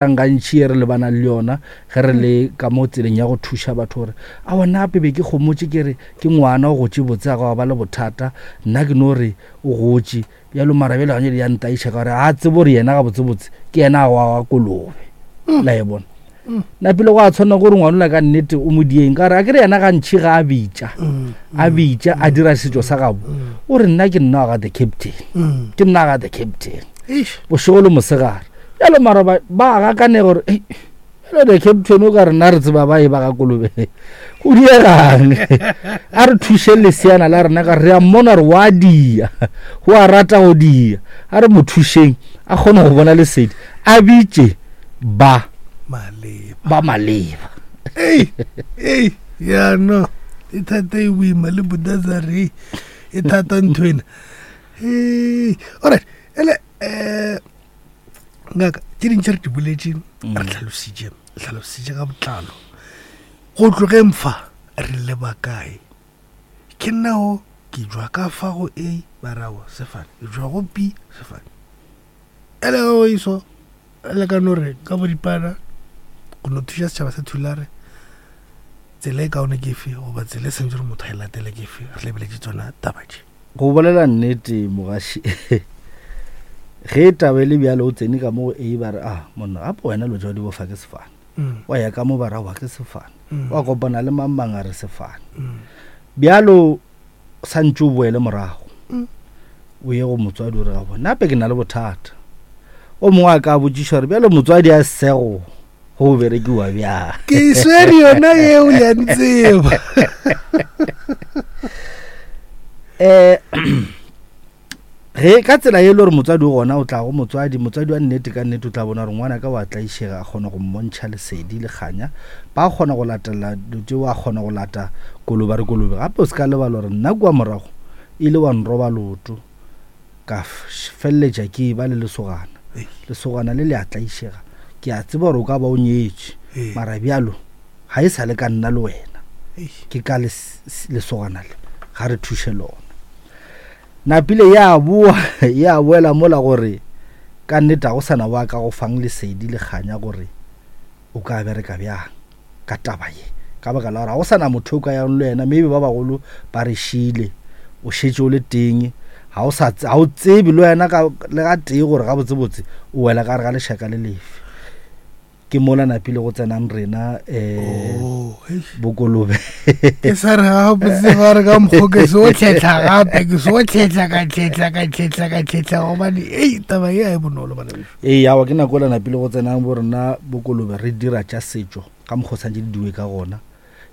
Gantši e re lebanang le yona ge re le ka mo tseleng ya go thuša batho gore aowa nna gape be ke gomotše ke re ke ngwana o gotše botse ga gwa ba le bothata nna ke no re o gotše bjalo mara bjale gane ya ntaiša ka gore ga a tsebe gore yena gabotsebotse ke yena a wa kolobe mm. la e bona mm. napile go a tshwanela gore ngwana ola ka nnete o mo dieng ka gore a kere yena gantšhi ga a bitša mm. a bitša a dira setšo sa gabo o re nna ke nna wa ga the captain ke nna ga the captain bošego le mosegare bjalo mara ba ba gakane gore "Ei, bjalo the captain o ka rena re tseba ba e ba ga kolobe go diegang a re thuše leseana la rena ka re a mmona gore wa dia o a rata go dia a re mo thušeng a kgone go bona lesedi a bitše ba maleba ba maleba ei ei ya no e thata e boima le budazare e thata ntho ena Ei, alright ele um ngaka tše dintši re di boletše mm. re tlhalositše tlhalositše ka botlalo go tlogeng fa re leba kae ke nao ke jwa ka fa go a barago sefane ke jwa go b sefane ele go iso le ka no re ka boripana go no thuša setšhaba sa thulare tsela e kaone ke efe goba tsela e santse gore motho a e latele ke efe re lebeletše tsona taba tše Go bolela nnete mogaši ge taba e le bjalo o tsene ka mo go A ba re ah monna gape wena lo tša di bofa ke sefane mm. wa ya ka mo ba ra wa ke sefane mm. wa kopana le mang mang a re sefane mm. bjalo santše o boele morago o ye go motswadi o re ga bona gape ke na le bothata o mongwe a ka botšiša gore bjalo motswadi a sego go berekiwa bjang ke swere yona yeo le a ntseba um ge ka tsela e le gore motswadi o gona o tla go motswadi motswadi wa nnete ka nnete o tla bona gore ngwana ka wa tlaišega a kgona go mmontšha lesedi le kganya ba kgona go latela dilo tšeo a kgona go lata kolobe a re kolobe gape o se ka lebala gore nna kua morago ile wa nroba loto Ka feleletša ke eba le lesogana. Lesogana le le a tlaišega. Ke a tseba gore o ka ba o nyetše, mara bjalo ga e sa le ka nna le wena. Ke ka lesogana le, ga re thuše lona. Napile ya boa, ya boela mola gore ka nnete ga go sa na wa ka go fang lesedi le kganya gore o ka bereka bjang ka taba ye ka baka la gore ga go sa na motho o ka yang le wena maybe ba bagolo ba re šile o šetše o le teng ga o sa ga o tsebe le wena ka le ga tee gore gabotsebotse o wela ka gare ga lešaka le lefe ke mola napile go tsenang rena um bokolobe ke sa re gabotse ba re ka mokgo ke se o tlhetlha gape ke se o tlhetlha ka tlhetlha ka tlhetlha ka tlhetlha gobane ei taba ye a e bonolo bana beso Ee, awa ke nako ela napile go tsenang bo rena bokolobe re dira tša setšo ka mokgwa o santše di diwe ka gona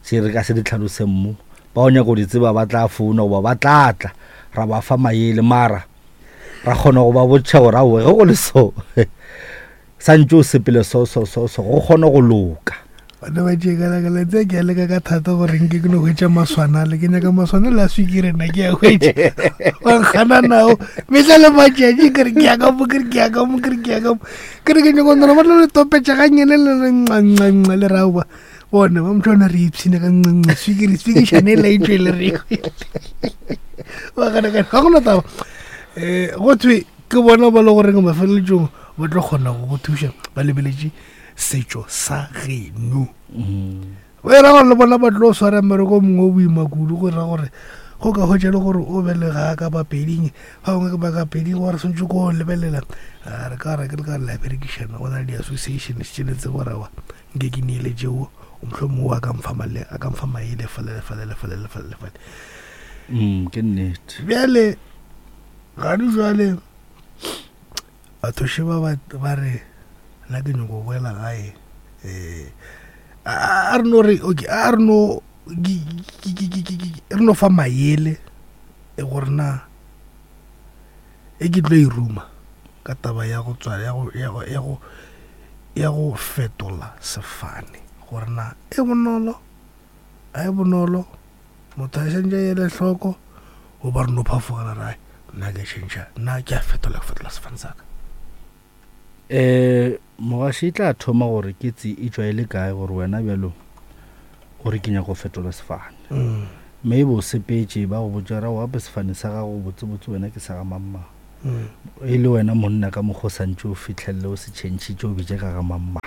tše re ka se di tlhaloseng mo ba go nyaka go di tseba ba tla founa goba ba tla tla ra ba fa maele mara ra kgona go ba botšha gore aowe ge go le so santše o sepele so so so so go kgone go loka bana ba tšee ka laka tse ke a leka ka thata gore nke ke no hwetša maswanale ke nyaka maswanale a swikiri nna ke a hwetša wa nkgana nao mehla le matšatši ke re ke ya ka mo ke re ke ya ka mo ke re ke ya ka mo ke re ke nyako nona ba tlo le topetša ga nyene le re nca le raoba bona ba motho ona re ipshine ka nca swikiri swikišane e laetšwe le re ba gana ga gona taba um go thwe ke bona ba le goreng mafeleletsong ba tlo kgona go go thuša ba lebeletše setšo sa geno mm. o era gore le bona ba tlo swara mmereko mongwe o boima kudu go ra gore go ka hwetša le gore o belega ka bapeding ba bangwe ke ba ka peding gore swantse ko lebelela re ka re ke le ka re la berekišana go na le di-association tše le tsebo rawa nke ke neele tšeo motlho mongwe a ka mfa male a ka mfa maele fale le fale le fale le fale le fale mm, ke nnete bjale gane jwale Batho šeba ba, ba re nna ke nyoko boela gae um a re no re okay a re no re no fa maele e gore na e ke tlo e ruma ka taba ya go tswa ya go ya go ya go ya go fetola sefane gore na e bonolo a e bonolo Motho a šantše a ele hloko goba re no phafogela ra nna ke tšhentšha nna ke a fetola ke fetola sefane sa ka. Um mogaši e tla thoma gore ke tse e tšwa e le kae gore wena bjalo o re ke nyaka go fetola sefane mm. mme e bo sepetše ba go botša ra gape sefane sa gago botsebotse wena ke sa ga mangmang mm. Mm. E le wena monna ka mokgwa o santse o fitlhelele o se tšhentšhitše o bitše ka ga mamma.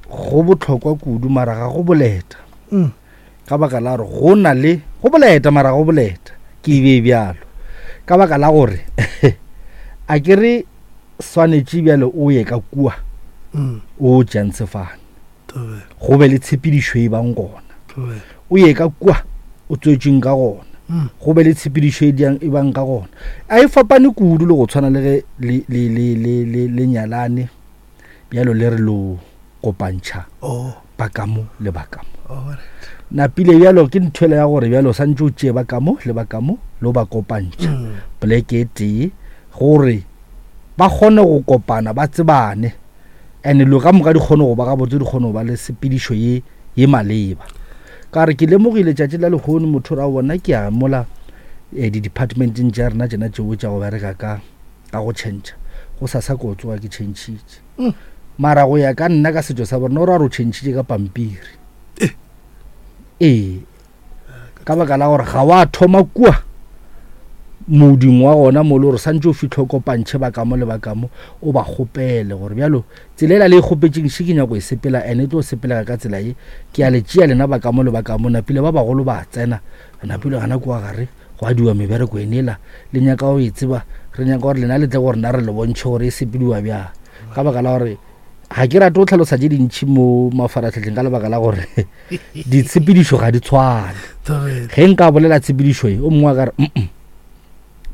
Go botlhokwa kudu mara ga go boleta. Ka baka la gore go na le go boleta mara go boleta ke e bee bjalo. Ka baka la gore a ke re swanetše bjale o ye ka kua o tšeang sefane. Go be le tshepedišo e bang gona. O ye ka kua o tswetšweng ka gona. Go be le tshepedišo e diang e bang ka gona. A e fapane kudu le go tshwana le ge le le le le le le nyalane bjalo le re lo kopantšha oh. ba ka mo le ba ka mo. Oh, Napile bjalo ke nthwela ya gore bjalo santse o tšee ba ka mo le ba ka mo lo ba kopantšha poleke e tee gore ba kgone go kopana ba tsebane and lo ka moka di kgone go ba gabotse di kgone go ba le sepedišo ye ye maleba. Ka re ke lemogile tšatši la lehono motho ra bona ke ya mola eh, di-departmenteng tša rena tšena tšeo tša go bereka ka ka go tšhentšha go sa sa ko tsoga ke tšhentšhitše mm. mara go ya ka nna ka setšo sa borena o ra re o tšhentšhitše ka pampiri eh. Ee, ka baka la gore ga wa thoma kua moding wa gona mo le gore santse o fitlhe o kopantšhe ba kamo le ba kamo o ba kgopele gore bjalo tsela ela le e kgopetšeng še ke nyako e sepela ene e tlo sepelega ka tsela ye ke a le tšea lena ba kamo le ba kamo napile ba bagolo ba tsena napile gana kua gare go adiwa mebereko enela le nyaka go e tseba re nyaka gore lena le tle gore na re le bontšhe gore e sepediwa bjang ka baka la gore ga ke rate go tlhalosa tše dintšhi mo mafaratlhatlheng ka lebaka la gore ditshepedišo ga di tshwane. Ge nka bolela tshepedišo e o mongwe a ka re mm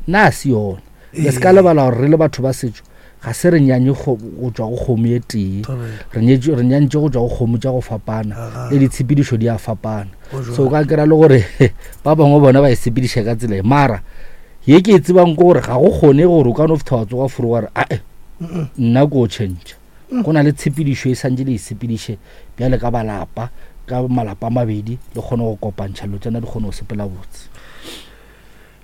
nna a se yona. Le se ka lebala gore re le batho ba setšo ga se re nyanye go tšwa go kgomo e tee, re nyantše go tšwa go kgomo tša go fapana le ditshepedišo di a fapana. So o ka kry-a le gore ba bangwe bona ba e sepediša ka tsela e mara ye ke e tsebang ke gore ga go kgone gore o ka no fitha wa tsoga furu wa re ae nna ko change. Go na le tshepedišo e santše le e sepediše bjale ka balapa, ka malapa a mabedi le kgone go kopantšha dilo tsena di kgone go sepela botse.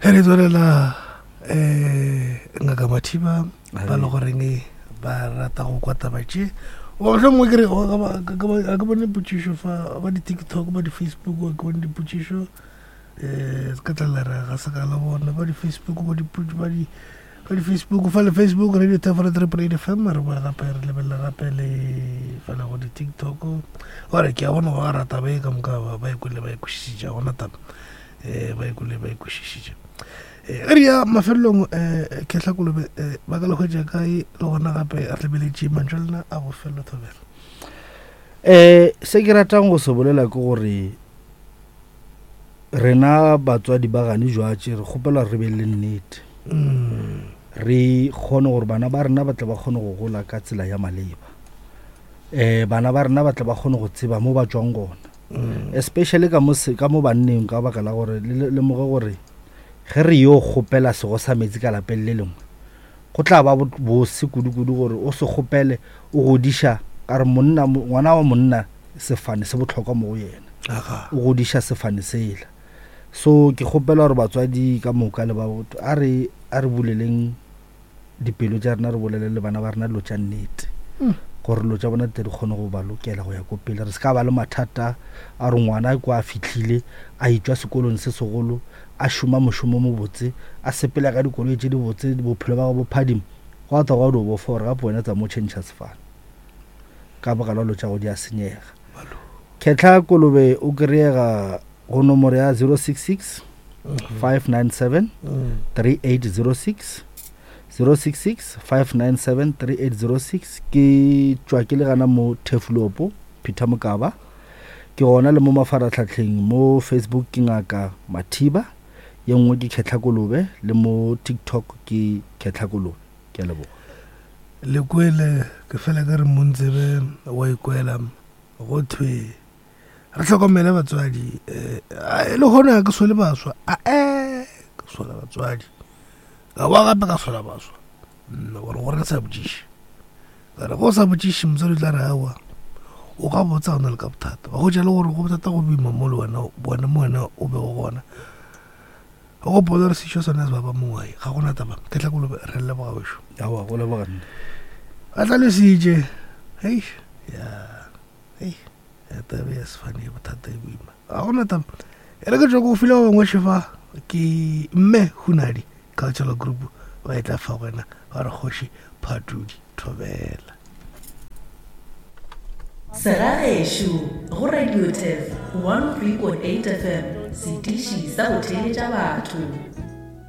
Ge re tswelela um ngaka Mathiba ba le goreng ba rata go kwa taba tše goba mohlomongwe mongwe ke re a ke bone potšišo fa ba di-tiktok ba di-facebook a ke bone dipotšišo um se ka tla re ga se ka la bona ba di-facebook ba di Ka di-Facebook, fa le Facebook Radio Thefolo Triple Eight FM, re boe gape re lebelele gape le fela go di-TikTok. Gore ke a bona ba rata ba e ka moka ba e kwele ba e kwešišitše, ga gona taba um ba e kwele ba e kwešišitše. Eh, ge re ya mafelelong um Kehla Kolobe um ba ka le hwetša kae le gona gape re lebeletše mantšu a lena a bofelo thobela. Um se ke ratang go se bolela ke gore Rena batswadi ba gane jwatše re kgopela re be le nnete. Re kgone gore bana ba rena ba tle ba kgone go gola ka tsela ya maleba. Um bana ba rena ba tle ba kgone go tseba mo ba tšwang gona. Especially ka mo ka mo banneng ka baka la gore le lemoge gore ge re yo kgopela sego sa metsi ka lapeng le lengwe go tla ba bose kudu-kudu gore o se kgopele o godiša ka re monna ngwana wa monna sefane se bohlokwa mo go yena o godiša sefane sela so ke kgopela gore batswadi ka moka le ba a re a re buleleng dipelo tša rena re bolele le bana ba rena dilo tša nnete hmm. gore dilo tša bona di kgone go ba lokela go ya ko pele re se ka ba le mathata a re ngwana kwa a fitlhile a etšwa sekolong se segolo a šoma mošomo mobotse a sepela ka dikoloi tše dibotse bophelo ba go bophadimo go a tla go a bofa gore gape wena tsa mo tšhentšha sefane ka baka la dilo tša go di a senyega. Khetla Kolobe o kry-ega go nomoro ya 066 597 3806 066 597 3806 ke tšwa ke le gana mo Turfloop Peter Mokaba ke gona le mo mafaratlhatlheng mo Facebook ke ngaka Mathiba ye nngwe ke Khetla Kolobe le mo TikTok ke Khetla Kolobe ke a leboga. Le kwele, ke fela ke re montsebe wa ikwela, go thwe re hlokomele batswadi. Um le gona ga ke sole baswa, ae ke sola batswadi, ka boa gape ka sola baswa. Nna gore gore ke sa botšiše, ka re go sa botšiše motswadi o tla re aowa o ka botsa o na le ka bothata, wa hwetša le gore go bothata go boima mo le wena wena mo wena o bego gona. O gopola gore sešo sona se baba mongwae ga gona taba ke tla kolobe re leboga wešo. Aowa go leboga nna. Ba hlalositše hei ya hei ya taba ya sefane ya bothata e boima ga gona taba e re ke tšwa ko file ba bangwe šefa ke mme Hunadi. Cultural Group ba e tla fa go wena ba re kgoši Phatudi Thobela. Segagešo go Radio Turf 103.8 FM, setiši sa go theeletša batho.